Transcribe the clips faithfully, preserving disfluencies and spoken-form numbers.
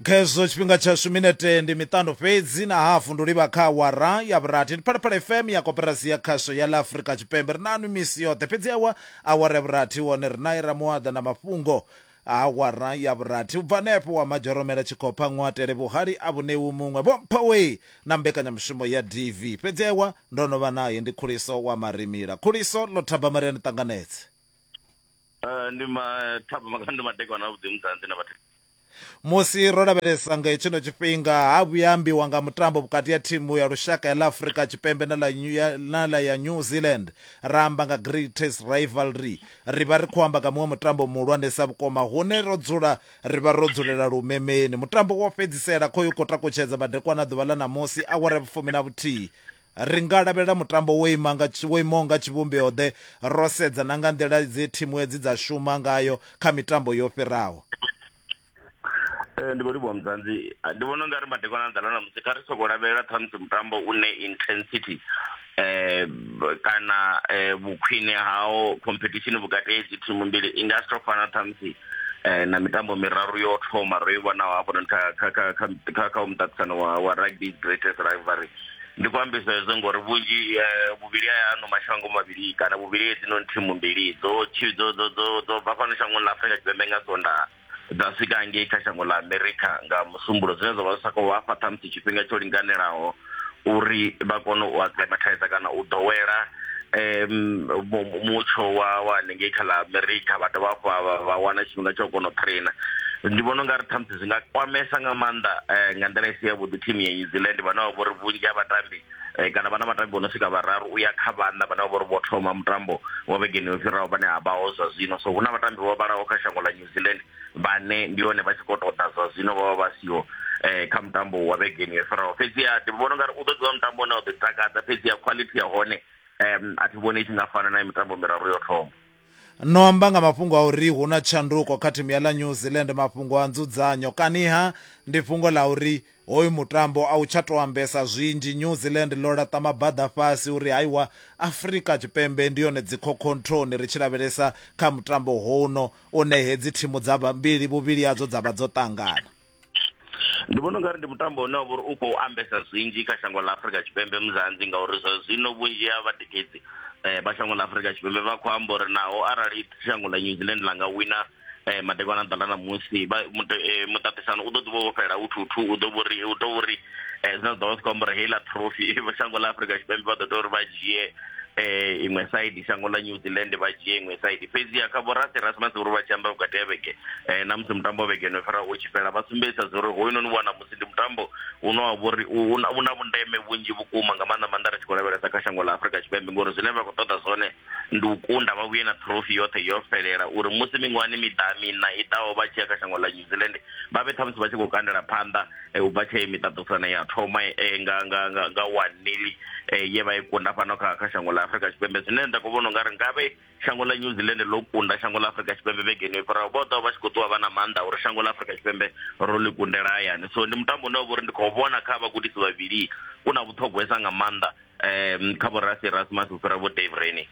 Khezwo tshifhinga tshashu minete ndi miṱanu fhedzi na hafu ndi u livha kha awara ya vhurathi. Ndi Phalaphala F M ya koperasi ya khasho ya ḽa Afrika Tshipembe. Ri nanu misi yoṱhe, fhedzi awa awara ya vhurathi wone ri nae Ramuaḓa na mafhungo a awara ya vhurathi. U bva hanefho wa Madzhoromela Tshikhopha Ṅwatele vhuhali a vhunewi muṅwe Vho Mphawe na mbekanyamushumo ya D V. Fhedzi awa ndo no vha naye ndi Khuliso wa Marimila. Khuliso ḽo thaba Maria ni ṱanganedze. Uh, ndi mathaba makando madekwana avhuḓi mudzanzi na vhathu. Musi ro lavhelesa nga hetshino tshifhinga ha vhuya ambiwa nga mutambo vhukati ya thimu ya lushaka ya ḽa Afrika Tshipembe na ḽa na ḽa ya New Zealand, ra amba nga greatest rivalry, ri vha ri khou amba nga muṅwe mutambo muhulwanesa vhukuma hune ro dzula ri vha ro dzulela lumemeni. Mutambo wo fhedzisela khoyu khou takutshedza madekwana ḓuvha ḽa ṋamusi awara ya vhufumi na vhuthihi. Ri nga lavhelela mutambo wo ima nga wo imaho nga tshivhumbeo ḓe ro sedza na nga nḓila dze thimu hedzi dza shuma ngayo kha mitambo yo fhiraho. Ndi khou livhuwa mudzanzi. Ndi vhona ungari madekwana a ḓala ṋamusi kha ri soko lavhelela ṱhamusi mutambo une intensity eh kana vhukhwine hao competition vhukati ha hedzi thimu mbili i nga si tou fana ṱhamusi na mitambo miraru yo thoma ro i vhonaho hafhanoni kha kha kha kha kha muṱaṱisano wa wa rugby greatest rivalry. Ndi khou ambisa hezwo ngori vhunzhi vhuvhili ha ano mashango mavhili kana vhuvhili hedzinoni thimu mbili dzo dzo dzo dzo dzo bva fhano shangoni ḽa Afrika Tshipembe nga Sondaha dza swika ngei kha shango ḽa Amerika nga Musumbulo, zwine zwa vha zwi sa khou vha fha ṱhamusi tshifhinga tsho linganelaho uri vha kone u acclimatize kana u ḓowela um mutsho wa wa hanengei kha ḽa Amerika, vha dovha hafhu vha wana tshifhinga tsha u kona u trainer. Ndi vhona ungari ṱhamusi zwi nga kwamesa nga maanḓa nga nḓila i si yavhuḓi thimu ya New Zealand vhane vha vhori vhunzhi ha vhatambi kana vhana vhatambi vho no swika vhararu uya kha vhaṋa vhane vha vhori vho thoma mutambo wa vhegeni yo fhiraho vhane a vhaho zwa zwino. So hu na vhatambi vho vhalaho kha shango ḽa New Zealand vhane ndi hone vha tshi khou tou zwa zwino vha vha vha siho kha mutambo wa vhegeni yo fhiraho. Fhedziha ndi vhona ungari u ḓo ḓivha mutambo une wa ḓo takadza, fhedziha quality ya hone um a thi vhoni i tshi nga fana na mitambo miraru yo thoma. No amba nga mafhungo a uri hu na tshanduko kha thimu ya ḽa New Zealand, mafhungo a nzudzanyo kaniha ndi fhungo ḽa uri hoyu mutambo a u tsha tou ambesa zwinzhi. New Zealand ḽo laṱa mabaḓa fhasi uri haiwa Afrika Tshipembe ndi yone dzikhokhothoni ri tshi lavhelesa kha mutambo hono une hedzi thimu dza mbili vhuvhili hadzo dza vha dzo ṱangana. Ndi vhona ungari ndi mutambo une wa vha uri u khou ambesa zwinzhi kha shango ḽa Afrika Tshipembe muzanzi, ngauri zwa zwino vhunzhi ha vhatikedzi vha shango ḽa Afrika Tshipembe vha khou amba uri naho arali shango ḽa New Zealand ḽa nga wina madekwana ḓala ṋamusi muṱaṱisano u ḓo ḓi vha wo fhela u two two, u ḓo vhori u tou uri zwine zwa ḓo vha zwi khou amba uri heiḽa trophy shango ḽa Afrika Tshipembe vha ḓo tea uri vha dzhie iṅwe side, shango ḽa New Zealand vha dzhie iṅwe side. Fhedziha kha vho Rassie Erasmus uri vha tshi amba vhukati ha vhege na musi mutambo wa vhege no fhira u tshi fhela vha sumbedzisa uri hoyunoni wa ṋamusi ndi mutambo une wa vhori u na vhundeme vhunzhi vhukuma nga maanḓa maanḓa ri tshi khou lavhelesa kha shango ḽa Afrika Tshipembe, ngori zwine vha khou ṱoḓa zwone ndi u kunda vha vhuye na trophy yoṱhe yo fhelela uri musi miṅwahani miḓa miṋa i ḓaho vha tshi ya kha shango ḽa New Zealand vha vhe ṱhamusi vha tshi khou kandela phanḓa u bva tshe miṱaṱisano ya thoma nga nga nga nga one nil ye vha i kunda fhano kha kha shango ḽa Afrika Tshipembe. Zwine nda khou vhona ungari ngavhe shango ḽa New Zealand ḽo kunda shango ḽa Afrika Tshipembe vhegeni yo fhiraho vho ḓo vha tshi khou ṱuwa vha na maanḓa uri shango ḽa Afrika Tshipembe ro ḽi kundela hayani. So ndi mutambo une wa vha uri ndi khou vhona kha vhagudisi vhavhili u na vhuṱhogwesa nga maanḓa um kha vho Rassie Erasmus u fhira vho Dave Rennie.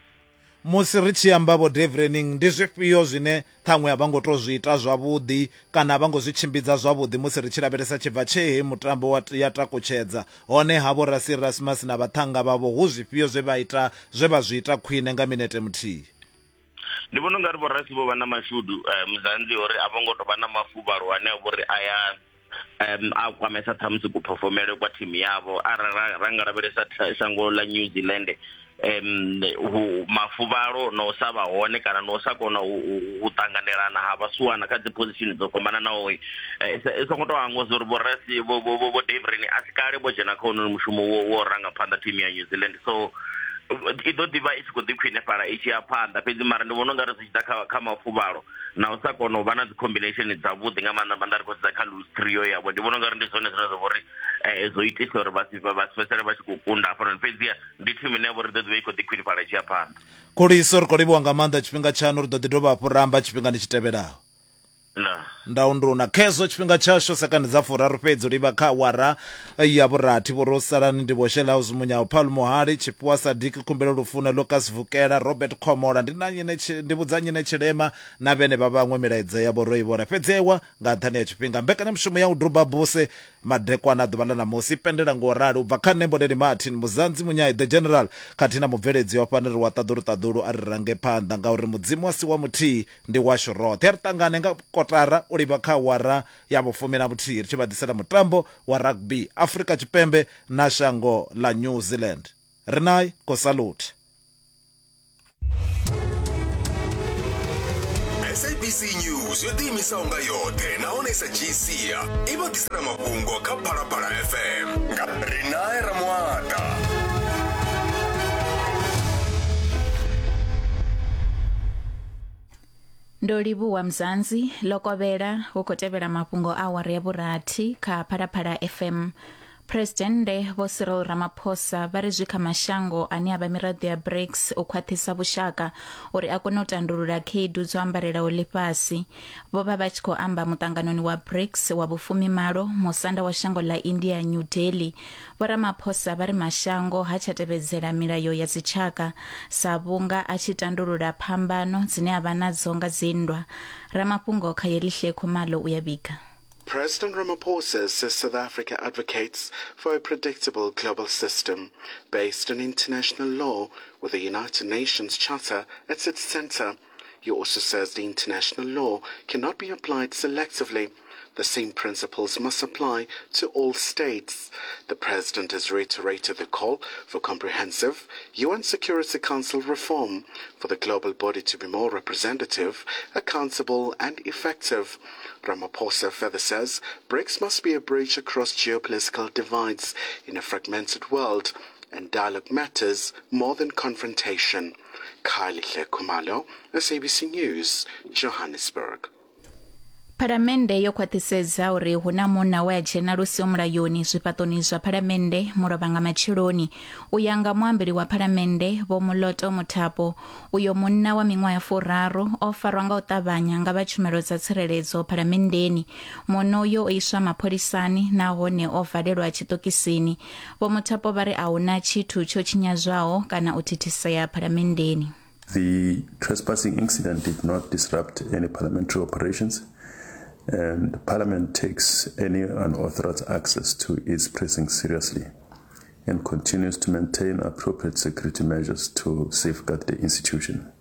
Musi ri tshi amba vho Dave Rennie, ndi zwifhio zwine ṱhaṅwe a vha ngo tou zwi ita zwavhuḓi kana a vha ngo zwi tshimbidza zwavhuḓi musi ri tshi lavhelesa tshibva tshe he mutambo wa ya takutshedza hone ha vho Rassie Erasmus na vhaṱhannga vhavho hu zwifhio zwe vha ita zwe vha zwi ita khwine nga minete muthihi? Ndi vhona ungari vho Rassie vho vha na mashudu muzanzi uri a vho ngo tou vha na mafuvhalo ane a vhori a ya um a kwamesa ṱhamusi kuphofomele kwa thimu yavho. Arali ra nga lavhelesa shango ḽa New Zealand um mafuvhalo na u sa vha hone kana na u sa kona u ṱanganelana ha vhasuwana kha dzi position dzo fhambananaho, i songo tou hangwa uri vho Rassie vho vho Dave Rennie a si kale vho dzhena kha honoyu mushumo wo wo ranga phanḓa thimu ya New Zealand, so i ḓo ḓivha i tshi khou ḓi khwinefhala i tshi ya phanḓa. Fhedzi mara ndi vhona ungari zwi tshi ḓa kha kha mafuvhalo na u sa kona u vha na dzi combination dzavhuḓi nga maanḓa maanḓa ri khou sedza kha loose trio yavho, ndi vhona ungari ndi zwone zwine zwa vha uri zwo itisa uri vha si vha si fhedzisele vha tshi khou kunda hafhanoni. Fhedziha ndi thimu ine ya vha uri ḓo ḓivha i khou ḓi khwinifhala i tshi ya phanḓa. Khuliso, ri khou livhuwa nga maanḓa tshifhinga tshaṋu, ri ḓo ḓi dovha hafhu ra amba tshifhingani tshi tevhelaho. Nda. Ndaunduna khezwo tshifhinga tshashu sekande dza furaru fhedzi u livha kha awara ya vhurathi. Vho ro salani ndi Vho Shela House Munyao, Paul Muhali, Tshifhiwa Sadiki, Khumbelo Lufuna, Lucas Vukela, Robert Khomola, ndi na nyine ndi vhudza nyine Tshilema na vhene vha vhaṅwe milaedza yavho ro i vhona. Fhedzi ewa nga nṱhani ya tshifhinga, mbekanyamushumo ya u duba buse madekwana ḓuvha ḽa ṋamusi pendela ngo rali u bva kha nṋe Mboneni Martin Muzanzi Munyai the General khathihi na mubveledzi wa fhano ri wa ṱaḓulu ṱaḓulu a ri range phanḓa ngauri Mudzimu a si wa muthihi ndi washu roṱhe. Ri ṱangane nga kotara u livha kha awara ya vhufumi na vhuthihi ri tshi vha ḓisela mutambo wa rugby Afrika Tshipembe na shango ḽa New Zealand. Ri nae ko salute. S A B C News yo ḓiimisaho nga yoṱhe nahone sa G C i vha ḓisela mafhungo kha Phalaphala F M nga Rinae Ramuata. Ndo livhuwa Mzanzi lokovhela hu khou tevhela mafhungo a awara ya vhurathi kha Phalaphala F M. Presidennde Vho Cyril Ramaphosa vha ri zwi kha mashango ane a vha miraḓo ya BRICS u khwaṱhisa vhushaka uri a kone u tandulula khaedu dzo ambarelaho ḽifhasi. Vho vha vha tshi khou amba muṱanganoni wa BRICS wa vhufumimalo musanda wa shango ḽa India New Delhi. Vho Ramaphosa vha ri mashango ha tsha tevhedzela milayo ya dzitshaka sa vhunga a tshi tandulula phambano dzine a vha nadzo nga dzinndwa. Ramafhungo kha Yelihle Khumalo u ya vhiga. President Ramaphosa says South Africa advocates for a predictable global system based on international law with the United Nations Charter at its center. He also says the international law cannot be applied selectively. The same principles must apply to all states. The president has reiterated the call for comprehensive U N Security Council reform for the global body to be more representative, accountable and effective. Ramaphosa further says BRICS must be a bridge across geopolitical divides in a fragmented world, and dialogue matters more than confrontation. Kylie Khumalo, S A B C News, Johannesburg. Phalamennde yo khwaṱhisedza uri hu na munna we a dzhena lusi mulayoni zwifhaṱoni zwa Phalamennde mulovha nga matsheloni. U ya nga muambeli wa Phalamennde Vho Moloto Muthapo, uyo munna wa miṅwaha ya furaru o farwa nga u ṱavhanya nga vha tshumelo dza tsireledzo Phalamenndeni. Munna uyo o iswa mapholisani nahone o valelwa tshiṱokisini. Vho Muthapo vha ri a hu na tshithu tsho tshinyadzwaho kana u thithisea Phalamenndeni. The trespassing incident did not disrupt any parliamentary operations, and Parliament takes any unauthorized access to its precincts seriously and continues to maintain appropriate security measures to safeguard the institution.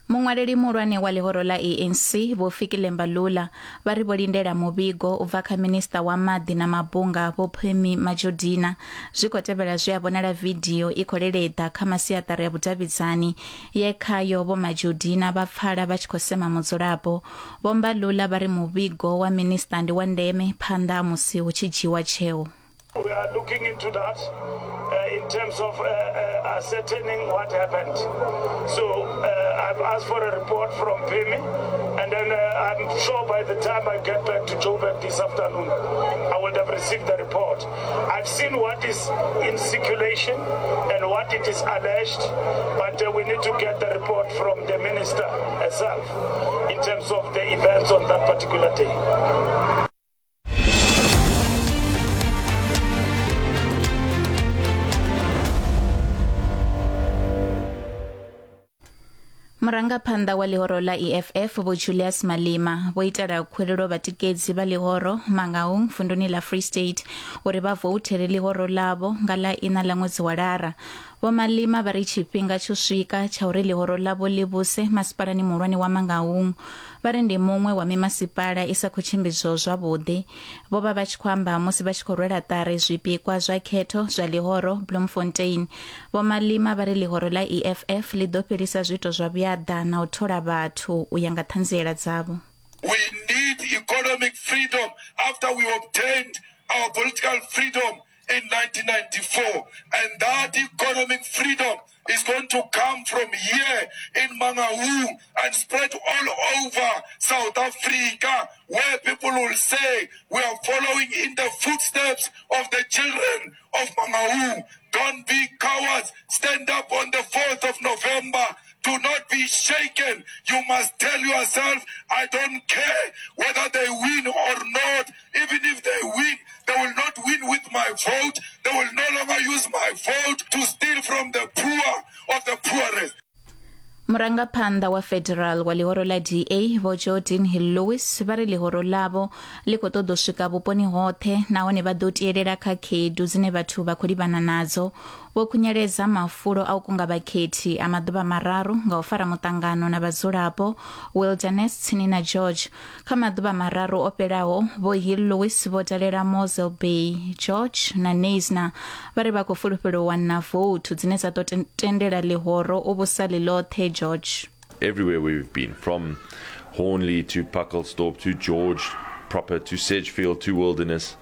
Muṅwaleli muhulwane wa ḽihoro ḽa A N C Vho Fikile Mbalula vha ri vho lindela muvhigo u bva kha minista wa maḓi na mabunga Vho Pemmy Majodina. Zwi khou tevhela zwe a vhonala vidio i khou leleḓa kha masiaṱari ya vhudavhidzani ye khayo Vho Majodina vha pfala vha tshi khou sema mudzulapo. Vho Mbalula vha ri muvhigo wa minista ndi wa ndeme phanḓa ha musi hu tshi dzhiwa tsheo. We are looking into that uh, in terms of uh, uh, ascertaining what happened. So uh, I've asked for a report from Pemmy, and then uh, I'm sure by the time I get back to Joburg this afternoon, I will have received the report. I've seen what is in circulation and what it is alleged, but uh, we need to get the report from the minister herself in terms of the events on that particular day. Murangaphanḓa wa ḽihoro ḽa E F F Vho Julius Malema vho itela khuwelelo vhatikedzi vha ḽihoro Mangaung vunduni ḽa Free State uri vha voutele ḽihoro ḽavho nga ḽa iṋa ḽa ṅwedzi wa Lara. Vho Malema vha ri tshifhinga tsho swika tsha uri ḽihoro ḽavho ḽi vhuse masipalani muhulwane wa Mangaung. Vha ri ndi muṅwe wa mimasipala i sa khou tshimbidzwaho zwavhuḓi. Vho vha vha tshi khou amba musi vha tshi khou rwela ṱari zwipikwa zwa khetho zwa ḽihoro Bloemfontein. Vho Malema vha ri ḽihoro ḽa E F F ḽi ḓo fhelisa zwiito zwa vhuaḓa na u thola vhathu u ya nga ṱhanziela dzavho. We need economic freedom after we obtained our political freedom in nineteen ninety-four, and that economic freedom is going to come from here in Mangaung and spread all over South Africa, where people will say we are following in the footsteps of the children of Mangaung. Don't be cowards. Stand up on the fourth of November. Do not be shaken. You must tell yourself, I don't care whether they win or not. Even if they win, they will not win with my vote. They will no longer use my vote to steal from the poor of the poorest. Murangaphanḓa wa federal wa ḽihoro ḽa D A Vho Geordin Hill-Lewis vha ri ḽihoro ḽavho ḽi khou ṱoḓa u swika vhuponi hoṱhe nahone vha ḓo tielela kha khaedu dzine vhathu vha khou livhana nadzo. Vho khunyeledza mafulo a u kunga vhakhethi a maḓuvha mararu nga u fara muṱangano na vhadzulapo Wilderness tsini na George. Kha maḓuvha mararu o fhelaho, Vho Hill Lewis vho dalela Mossel Bay, George na Knysna. Vha ri vha khou fulufhela u wana vouthu dzine dza ḓo tendela ḽihoro u vhusa ḽi ḽoṱhe George. Everywhere we've been, from Hornlee to Pacaltsdorp to George proper to Sedgefield to Wilderness,